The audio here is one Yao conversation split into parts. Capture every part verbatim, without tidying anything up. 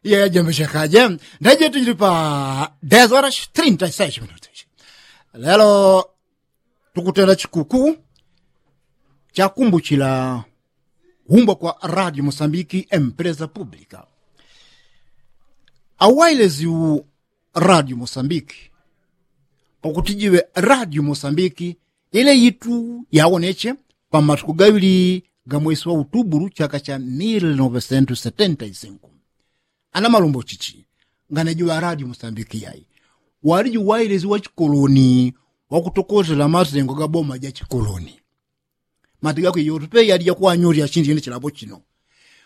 Iya yajambeshekaje. Ndaje tujili pa dez horas trinta y seis minutos. Lelo tukutenda chikuku chakumbuchila kuumbwa kwa radio mosambiki empresa publika. Awailesi u radio mosambiki pakuti jiwe radio mosambiki ile yitu yawoneche pamatuku gaŵili ga mwesi wa utubulu chaka cha mil novesentu setenta y sinku. Ana malumbo chichi ngane jiwa radio mosambiki yai wali jiwailesi wa chikoloni wakutokozela masengo ga boma ja chikoloni. Mati gakwe yotu pe yali jakuwanyuli yachindile chilambo chino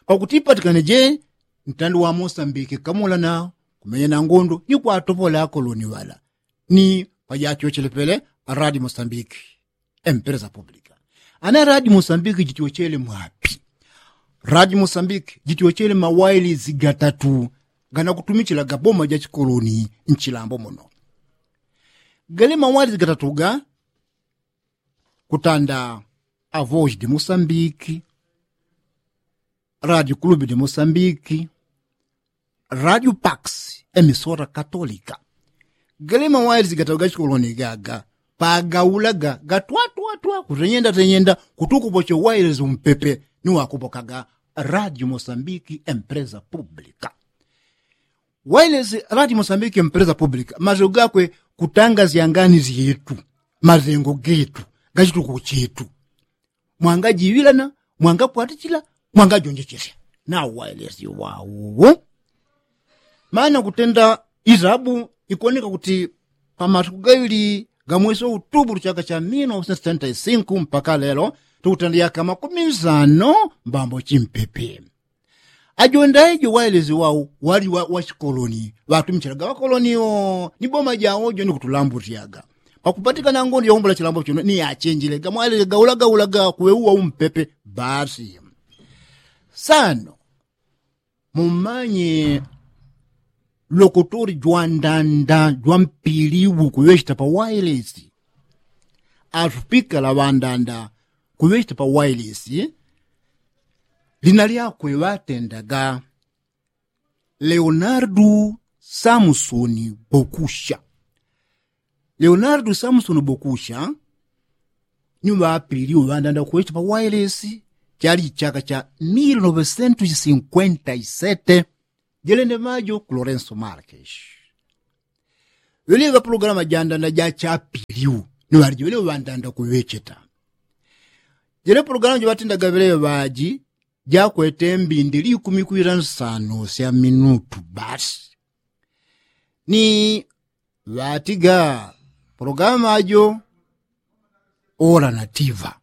pakuti ipatikane je ntandi wa mosambiki kamulana kumenya na ngondo ni kwatopola akoloni ŵala ni pajachochele pele. Aradi mosambiki empresa publika. Ana radi mosambiki jityochele mwapi? Radi mosambiki jityochele mawailisi gatatu ganakutumichila gaboma ja chikoloni nchilambo muno. Gale mawailisi gatatu ga kutanda avoji de mosambiki, radio kulube de mosambiki, radio pax, emisora katolika. Gale mawailisi gatatu ga chikoloni gaga pagaulaga gatwatwatwa kutenyenda tenyenda kutukupoche wailisi umpepe ni wakupokaga radio mosambiki empresa publika. Wailisi radio mosambiki empresa publika mazengo gakwe kutanga zyangani zyetu mazengo getu gachituko chetu. Mwangajiŵilana, mwangakwatichila, mwangajonjechesya. Nawailesi wawo mana kutenda isabu ikoneka kuti pamatuku gaŵili ga mwesi wa utubulu chaka cha mil novesentu setenta y sinku mpaka lelo tukutenda yaka makumi nsano mbambo chimpepe. Ajonda ejo wailesi wau wali wa chikoloni ŵatumichilaga ŵakoloni o ni boma jawo jo ni kutulambusyaga pakupatikana ngondo yakumbula chilambo chino ni yachenjile gamwailesi gaulagaulaga kuŵe uwa umpepe. Basi sano mumanye lokotori jwandanda jwampiliwu kuŵechita pa wailesi. Atupikala ŵandanda kuŵechita pa wailesi lina lyakwe ŵatendaga leonardu samsoni bokusha. Leonardu samsoni bokusha ni ŵapiliwu ŵandanda kuŵechita pa wailesi. Chali chaka cha mil novesentu sinkwenta y sete. Jelende majo ku lorenso markesh. Ŵeleŵa pulogalamu jandanda jachapiliwu ni ŵaliji ŵeleŵa ŵandanda kuŵecheta. Jele pulogalamu jiŵatendaga ŵeleŵa ŵaji jakwete mbindi likumi kwila nsano sya minutu basi. Ni ŵatiga pulogalamu ajo ora na tiva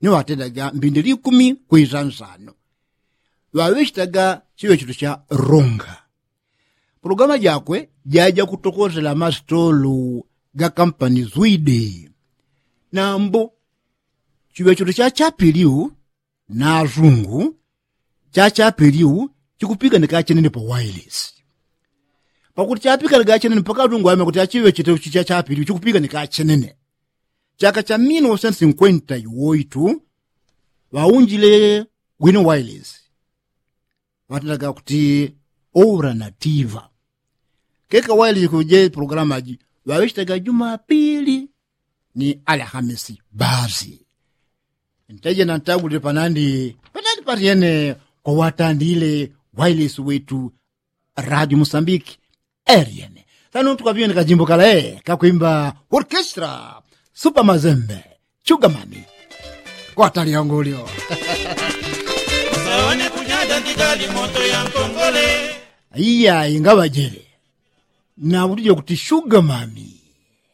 ni ŵatendaga mbindi likumi kwila nsano. Ŵaŵechitaga chiŵechito cha runga. Pulogalamu jakwe jaja kutokozela masitolu ga kampani zwide. Nambo chiŵechito cha chapiliwu na asungu chachapiliwu chikupiganika chenene pa wailesi. Pakuti chapiganika chenene mpaka asungu aŵeme kuti achiŵechete uchi chachapiliwu chikupiganika chenene. Chaka cha mil novesentu sinkwenta y oitu ŵaunjile wino wailesi ŵatendaga kuti ora na tiva. Keka wailesi kuje pulogalamu aji ŵaŵechitaga jumapili ni alhamisi basi. Nteje na ntagulile panandi panandi patyene kwawatandile wailesi wetu radio mosambiki. Eryene sano tukaŵiwene kajimbo kala e kakwimba orkestra supa mazembe. Chugamami kwatali yangulyo. Sawane kunyada ndigali moto ya nkongole. Iya ingaŵajele na utuje kuti chugamami.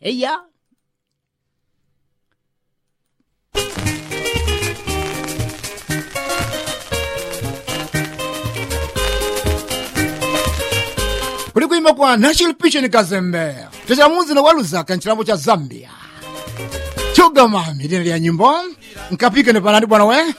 Eya. Kuli kwimba kwa nashilipisheni kazembe. Tuchamuzi na waluzaka nchilambo cha zambia. Chugamami lina lya nyimbo nkapikane panandi bwana we.